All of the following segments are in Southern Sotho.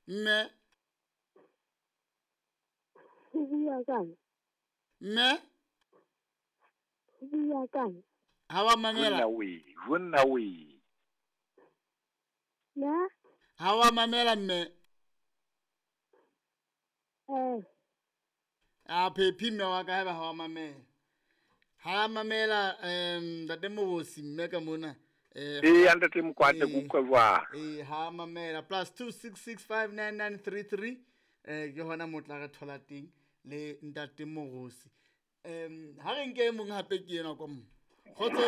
Mme. Ho bua kang? Mme. Ho bua kang? Ha wa mamela. Jonna we, jonna we. Ya? Ha wa mamela mme. Eh. A phephi mme wa ka haeba ha wa mamela. Ha mamela ntate Mobosi mme ka mona. Eh ntate Mokwate ke utlwa jwang? Eh ha mamela +26659933 ke hona motla re thola teng le ntate Mobosi. Ha re nke mong hape ke yena kwa mo. Kgotso.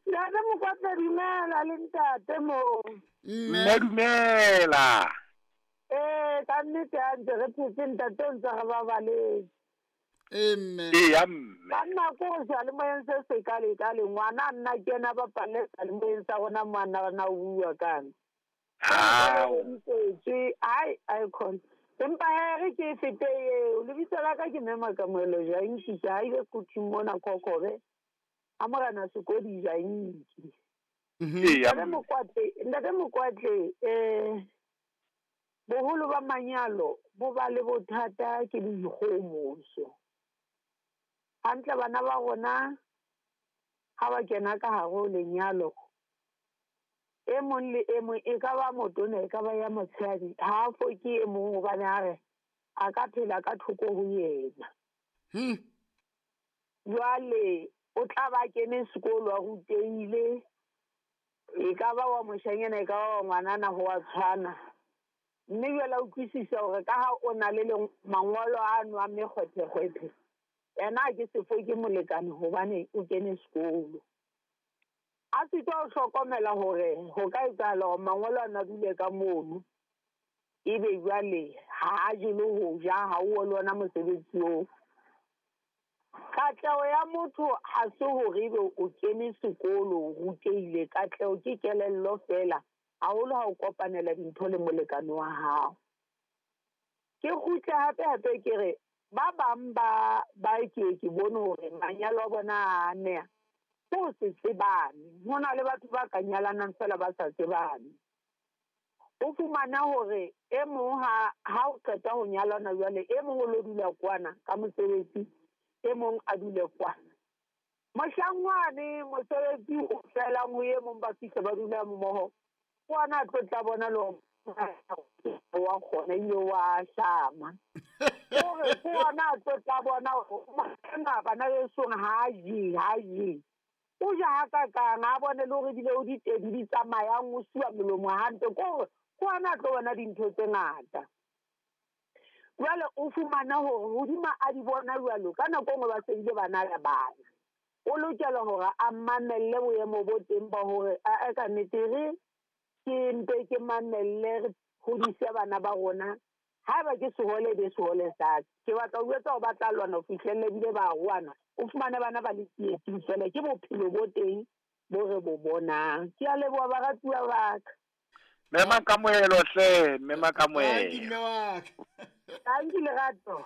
Ntate Mokwate dumela le ntate mo. Mme dumela. Eh ka nnete a ntse re phetse ntate o ntse re babaletse. Mme. Eya mme. Banna ko re seyalemoyeng se se kale-kale ngwana nna ke ena bapalle seyalemoyeng sa rona ngwana rena o bua kana. Ao. Tswe ai ai khona. Empa he re ke fete eo lebitso la ka ke Mema Kamohelo Janki ke haile kuthing mona Kokobe. A morena Sekodi Janki. Eya. Ntate Mokwate boholo ba manyalo bo ba le bothata ke boikgohomoso. Hantle bana ba rona ha ba kena ka hare ho lenyalo e mong le e mong e ka ba motona e ka ba ya motshehadi ha a foke e mong hobane a re a ka phela ka thoko ho yena. Jwale o tla ba kene sekolo a rutehile e ka ba wa moshanyana e ka ba wa ngwanana ho wa tshwana. Mme jwale a utlwisisa hore ka ha o na le mangolo ano a mekgwethekgwethe yena ke sefo ke molekane hobane o kene sekolo. A sitwa ho hlokomela hore ho ka etsahala hore mangolo ana a dule ka mono ebe jwale ha a jele ho ja ha o le ona mosebetsi oo. Katleho ya motho ha se hore ebe o kene sekolo o rutehile. Katleho ke kelello feela haholo ha o kopanela dintho le molekane wa hao. Ke kgutle hape hape ke re ba bang ba ke bone hore manyalo a bona a ameha ho se tsebane. Ho na le batho ba ka nyalanang feela ba sa tsebane. O fumana hore e mong ha o qeta ho nyalana jwale e mong o lo dula kwana ka mosebetsi e mong a dule kwana. Mohlangwane mosebetsi o felang ho e mong ba fihla ba dula mmoho. Kwana a tlo tla bona le wa kgona ebile wa hlama. Hore kwana a tlo tla bona hore bana besong ha je. O ja hakakang a bone le hore ebile o ditedi di tsamayang o suwa molomo hantle ke hore kwana a tlo bona dintho tse ngata. Jwale o fumana hore hodima a di bona jwalo ka nako e nngwe ba se bile ba na le bana. O lokela hore a mamelle boemo bo teng ba hore a ka nnete re ke mpe ke mamelle re hodise bana ba rona. Haeba ke sehole be sehole sa ka. Ke batla ho jwetsa hore ba tla lwana ho fihlelle ebile ba roana. O fumane bana ba le tsietsing feela ke bophelo bo teng bo re bo bonang. Ke a leboha baratuwa ba ka. Mema Kamohelo hle, Mema Kamohelo. Thank you mme wa ka. Thank you Lerato.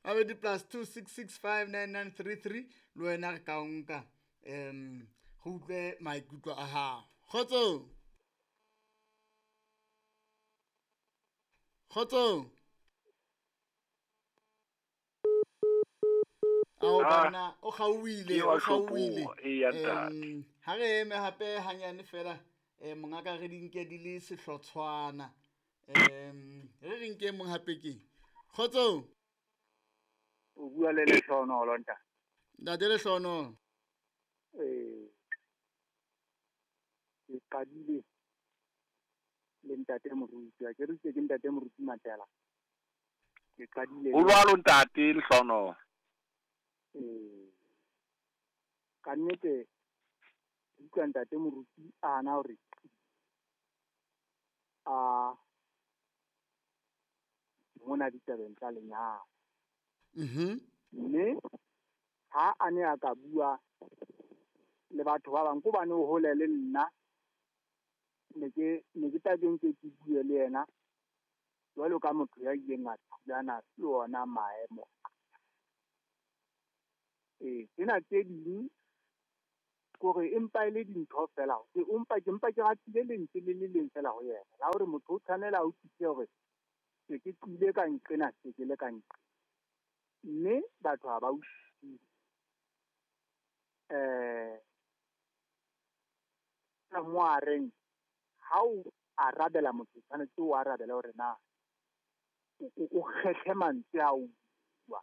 Abedi +26659933 le wena re ka o nka go utlwe maikutlo a hao. Kgotso. Kgotso. Ao bana o kgauwile, o kgauwile. Ha re eme hape hanyane fela mongaka re di nke di le sehlotshwana. Re re nke mong hape ke. Kgotso. O bua le Lehlohonolo ntate. Ntate Lehlohonolo. Ke qadile le ntate Moruti. Ke re ke ntate Moruti Matela. Ke qadile. O jwalo ntate Lehlohonolo. Ka nnete utlwa ntate Moruti a na hore a mona ditabeng tsa lenyalo. Mme ha a ne a ka bua le batho ba bang ko bane o hole le nna ne ke tla ke nke ke bue le yena jwalo ka motho ya ileng a thulana le ona maemo. Tsena tse ding Kore empa e le dintho fela, ke mpa ke ratile lentswe le le leng fela ho yena la hore motho o tshwanela a utlwisise hore se ke tlile ka nqena, se ke le ka nqena, mme batho ha ba utlwisise. Mo a reng ha o arabela motho, tshwanetse o arabele hore na o kgethe mantswe a o bua.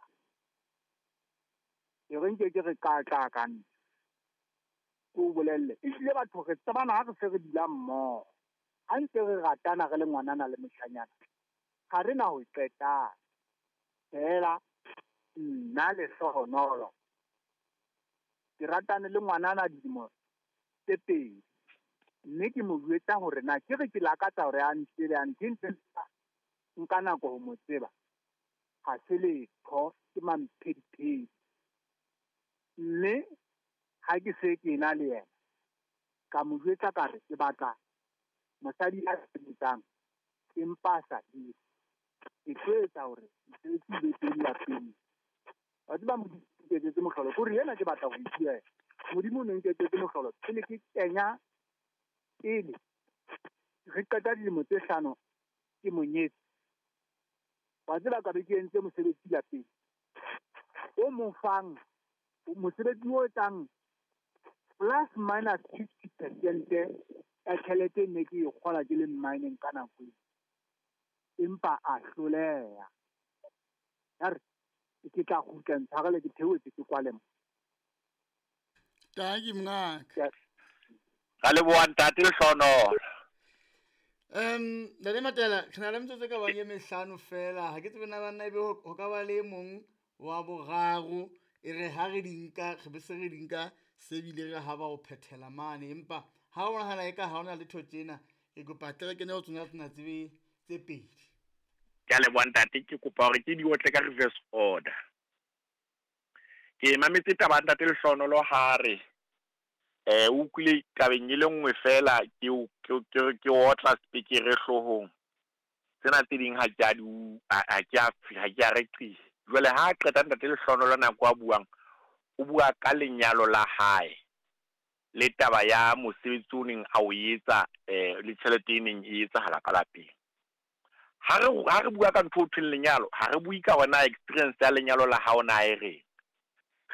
E re nke ke re ka tla ka nna o bolelle, ehlile batho re tsebana ha re se re dula mmoho, ha ntse re ratana re le ngwanana le moshanyana, ha re na ho qetana. Fela nna Lehlohonolo ke ratane le ngwanana dilemo tse 2, mme ke mo jwetsa hore na ke re ke lakatsa hore a ntsebe, a ntse nka nako ho mo tseba, ha se letho, ke mamphediphedi. Mme ha ke se ke na le yena, ka mo jwetsa ka re ke batla mosadi a sebetsang empa a sa hire. Ke tlo etsa hore mosebetsi o be teng lapeng. Wa tseba Modimo o nketsetse mohlolo, kore ena ke batla ho e bua. Modimo o ne nketsetse mohlolo pele ke kenya, pele re qeta dilemo tse 5 ke mo nyetse. Wa tseba ka be ke entse mosebetsi lapeng o mo fang mosebetsi o etsang plus minus 50% ya tjhelete ne ke e kgola ke le mining ka nako eo, empa a hloleha. Ya re ke tla kgutla ntshwarele ke theohetse ke kwale mo. Tanki mongaka. Ra leboha ntate Lehlohonolo. Ntate Matela, re na le metsotso e ka bang e mehlano fela. Ha ke tsebe na banna ebe ho ka ba le mong wa boraro, e re ha re di nka, re be se re di nka se bile re ha ba ho phethela mane, empa ha o nahana eka ha hona letho tjena, ke kopa tle re kene ho tsona tsena tse pedi. Ke a leboha ntate, ke kopa hore ke di otle ka reverse order. Ke mametse taba ya ntate Lehlohonolo ha re o utlwile tabeng e le nngwe fela, ke otla sepekere hloohong. Tsena tse ding ha ke a di ha ke a reqisa. Jwale ha qeta ntate Lehlohonolo nako a buang, o bua ka lenyalo la hae le taba ya mosebetsi o neng a o etsa, le tjhelete e neng e etsahala ka lapeng. Ha re bua ka ntho o thweng lenyalo, ha re bue ka hore na experience ya lenyalo la hao na e reng.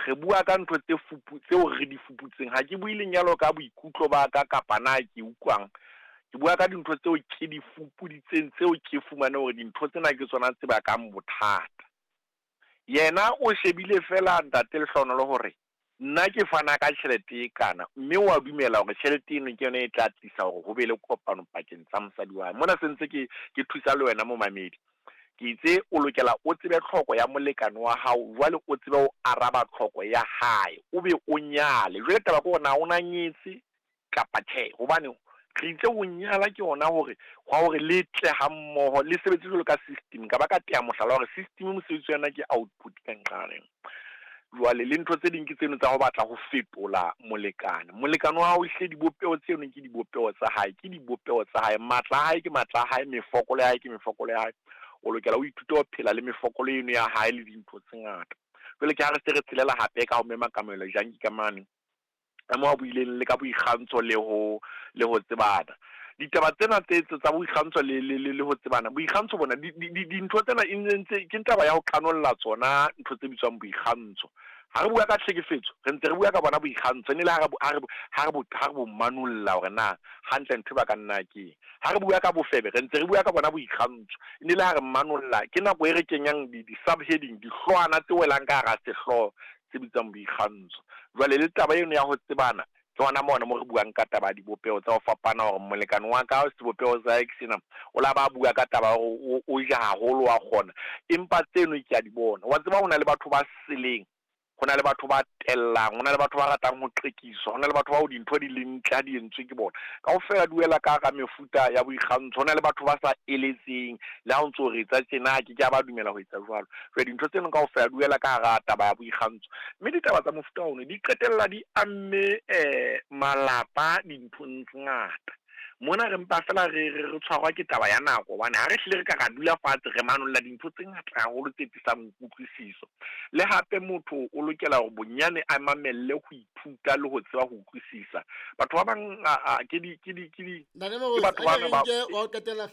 Re bua ka ntho tse tseo re di fuputseng. Ha ke bue lenyalo ka boikutlo ba ka kapa na ke utlwang. Ke bua ka dintho tseo ke di fupuditseng, tseo ke fumane hore dintho tsena ke tsona tse bakang bothata. Yena o shebile fela ntate Lehlohonolo hore nna ke fana ka tjhelete e kana, mme wa dumela hore tjhelete eno ke yona e tla tlisa hore ho be le kopano pakeng tsa mosadi wa hae. Mona se ntse ke thusa le wena momamedi. Ke itse o lokela o tsebe tlhoko ya molekane wa hao, jwale o tsebe ho araba tlhoko ya hae, o be o nyale. Jwale taba ke hore na o na nyetse kapa tjhe, hobane re itse ho nyala ke hona hore hwa hore le tle ha mmoho, le sebetse jwalo ka system. Ka ba ka tea mohlala hore system mosebetsi wa yona ke output ka nqaleng. Jwale le ntho tse ding ke tseno tsa ho batla ho fetola molekane. Molekane wa hao ehlile dibopeho tseno ke dibopeho tsa hae, ke dibopeho tsa hae, matla a hae ke matla a hae, mefokolo ya hae ke mefokolo ya hae. O lokela o ithute ho phela le mefokolo eno ya hae le dintho tse ngata. Jwale ke ha re se re tshelela hape ka ho mema Kamohelo Janki ka mane, ka moo a buileng le ka boikgantsho le ho tsebana. Ditaba tsena tse tsa boikgantsho le ho tsebana, boikgantsho bona dintho tsena e ntse ke taba ya ho qanolla tsona ntho tse bitswang boikgantsho. Ha re bua ka tlhekefetso, re ntse re bua ka bona boikgantsho, ne le ha re bo manolla hore na hantle ntho ba ka nna ke. Ha re bua ka bofebe, re ntse re bua ka bona boikgantsho, ne le ha re manolla ke nako e re kenyang di subheading, dihloohwana tse welang ka hara sehlooho se bitswang boikgantsho. Jwale le taba eno ya ho tsebana, ke hona mona mo re buang ka taba ya dibopeho tsa ho fapana, hore molekane wa ka sebopeho sa hae ke sena, o la ba bua ka taba hore o ja haholo wa kgona, empa tseno ke a di bona. Wa tseba ho na le batho ba seleng, ho na le batho ba tellang, ho na le batho ba ratang ho qekiswa, ho na le batho bao dintho di leng ntle ha di entswe ke bona. Kaofela di wela ka hara mefuta ya boikgantsho. Ho na le batho ba sa eletseng, le ha o ntso re etsa tjena, ke ke a ba dumela ho etsa jwalo. Jwale dintho tseno kaofela di wela ka hara taba ya boikgantsho. Mme ditaba tsa mofuta ono di qetella di amme malapa dinthong tse ngata. Mona re mpa fela re re re tshwarwa ke taba ya nako hobane ha re hlile re ka ra dula fatshe re manolla dintho tse ngata haholo tse tlisang kutlwisiso. Le hape motho o lokela hore bonyane a mamelle ho ithuta le ho tseba ho utlwisisa. Batho ba bang ke di ke di ke di ke batho ba ba wa o qetela.